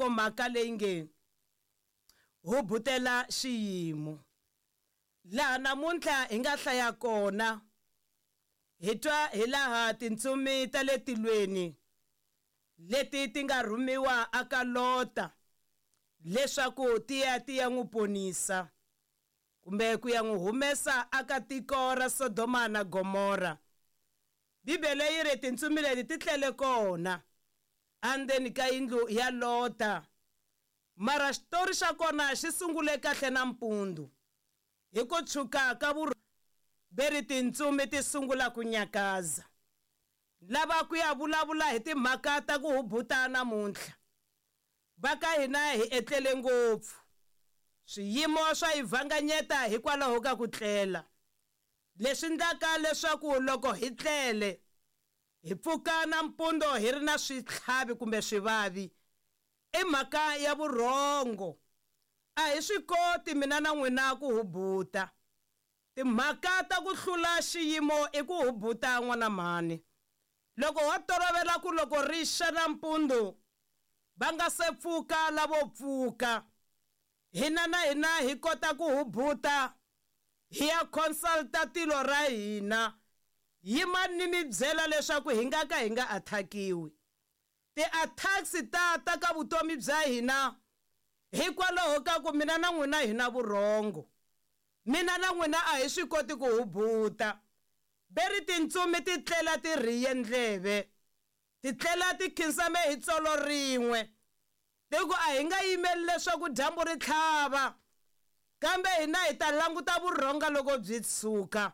Nhlokomhaka leyi nge hubutela xiyimo. Laha namuntlha hi nga hlaya kona hi twa hi laha tintsumi ta le tilweni leti ti nga rhumiwa aka Lota leswaku ti ya ti ya n'wi ponisa kumbe ku ya n'wi humesa aka tiko ra Sodoma na Gomora. Bibele yi ri tintsumi leti ti tlele kona endzeni ka yindlu ya Lota. Mara xitori xa kona xi sungule kahle nampundzu hi ku tshuka ka veri tintsumi ti sungula ku nyakaza. Lava ku ya vulavula hi timhaka ta ku hubuta namuntlha. Va ka hina hi etlele ngopfu. Swiyimo swa hi vhanganyeta hikwalaho ka ku tlela. Leswi endlaka leswaku loko hi tlele hi pfuka nampundzu hi ri na switlhavi kumbe swivavi i mhaka ya vurhongo. A hi swi koti mina na n'wina ku hubuta. Timhaka ta ku hlula xiyimo i ku hubuta n'wana mhani. Loko ho tolovela ku loko ri xa nampundzu va nga se pfuka lavo pfuka, hina na hina hi kota ku hubuta hi ya consulta tilo ra hina. Yimani ni mi byela leswaku hi nga ka hi nga attackiwi. Ti-attacks ta ta ka vutomi bya hina hikwalaho ka ku mina na n'wina hi na vurhongo. Mina na n'wina a hi swi koti ku hubuta. Veri tintsumi ti tlela ti rhiye ndleve, ti tlela ti khinsame hi tsolo rin'we. Ti ku a hi nga yimeli leswaku dyambu ri tlhava, kambe hina hi ta languta vurhonga loko byi tshuka.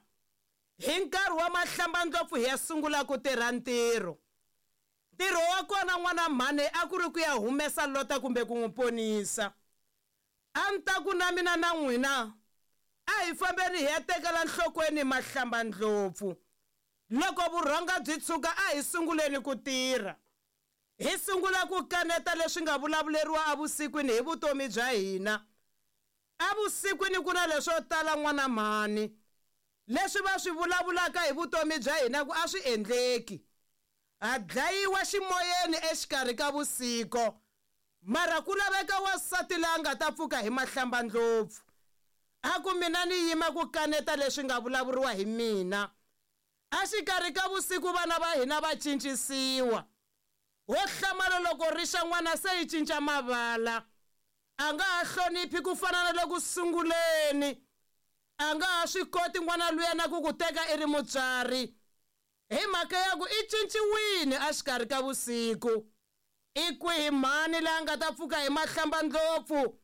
Hi nkarhi wa mahlambandlopfu hi ya sungula ku tirha ntirho. Ntirho wa kona n'wana mhani a ku ri ku ya humesa Lota kumbe ku n'wi ponisa. A ni ta ku na mina na n'wina a hi fambeni hi ya tekela nhlokweni mahlambandlopfu. Loko vurhonga byi tshuka a hi sunguleni ku tirha. Hi sungula ku kaneta leswi nga vulavuleriwa evusikwini hi vutomi bya hina. Evusikwini ku na leswo tala n'wana mhani leswi va swi vulavulaka hi vutomi bya hina ku a swi endleki. Ha dlayiwa ximoyeni exikarhi ka vusiku. Mara ku laveka wansati loyi a nga ta pfuka hi mahlambandlopfu. A ku mina ni yima ku kaneta leswi nga vulavuriwa hi mina. Exikarhi ka vusiku vana va hina va cincisiwa. Ho hlamala loko ri xa n'wana se yi cinca mavala. A nga ha hloniphi ku fana na le ku sunguleni. A nga ha swi koti n'wana luya na ku ku teka i ri mutswari. Hi mhaka ya ku i cinciwile exikarhi ka vusiku. I kwihi mhani loyi a nga ta pfuka hi mahlambandlopfu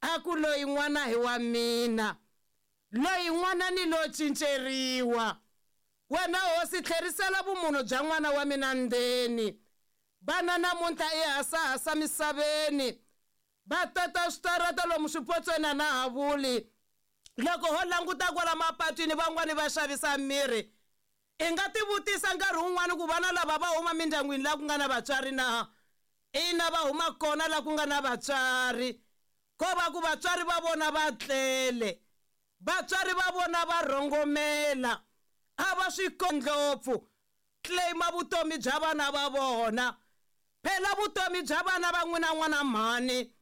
a ku loyi n'wana hi wa mina, loyi n'wana ni lo cinceriwa. Wena hosi tlherisela vumunhu bya n'wana wa mina ndzeni. Vana namuntlha i hasahasa misaveni, va tata switarata lomu swipotsweni a na ha vuli. Loko ho languta kwala mapatwini van'wani va xavisa mirhi. I nga tivutisa nkarhi wun'wani ku vana lava va huma mindyangwini laha ku nga na vatswari na? Ina, va huma kona laha ku nga na vatswari. Ko va ku vatswari va vona va tlele, vatswari va vona va rhongomela, a va swi ndlopfu claim-a vutomi bya vana va vona. Phela vutomi bya vana va n'wina n'wana mhani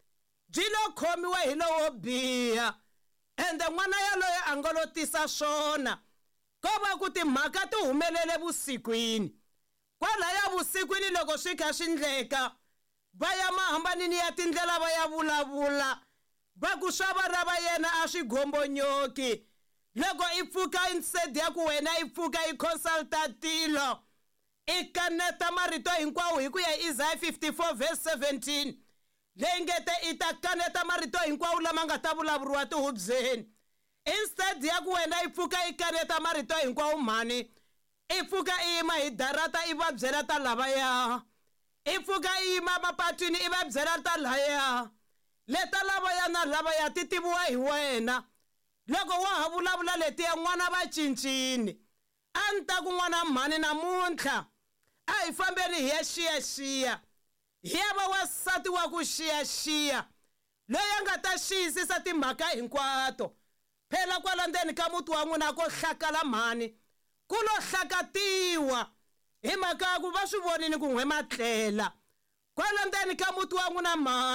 byi lo khomiwe hi lowo biha, ende n'wana yaloye a nga lo tisa swona. Ko va ku timhaka ti humelele vusikwini. Kwalaya vusikwini loko swi kha swi endleka, va ya mahambanini ya tindlela va ya vulavula, va ku swa vana va yena a swi gombonyoki. Loko i pfuka instead ya ku wena i pfuka i consulta tilo, i kaneta marito hinkwawo hi ku ya hi Isaiah 54 verse 17 leyi nge te i ta kaneta marito hinkwawo lama nga ta vulavuriwa tihubyeni. Instead ya ku wena i pfuka i kaneta marito hinkwawo mhani, i pfuka i yima hi darata i va byela ta lavaya. I pfuka i yima mapatwini i va byela ta laya. Leta lavaya na lavaya ti tiviwa hi wena. Loko wa ha vulavula letiya n'wana va cincini. A ni ta ku n'wana mhani namuntlha a hi fambeni hi ya xiyaxiya. Hi ya va wansati wa ku xiyaxiya loyi a nga ta xiyisisa timhaka hinkwato. Phela kwala ndzeni ka muti wa n'wina ko hlakala mhani, ku lo hlakatiwa hi mhaka ya ku va swi vonile ku n'we ma tlela. Kwala ndzeni ka muti wa n'wina mhani.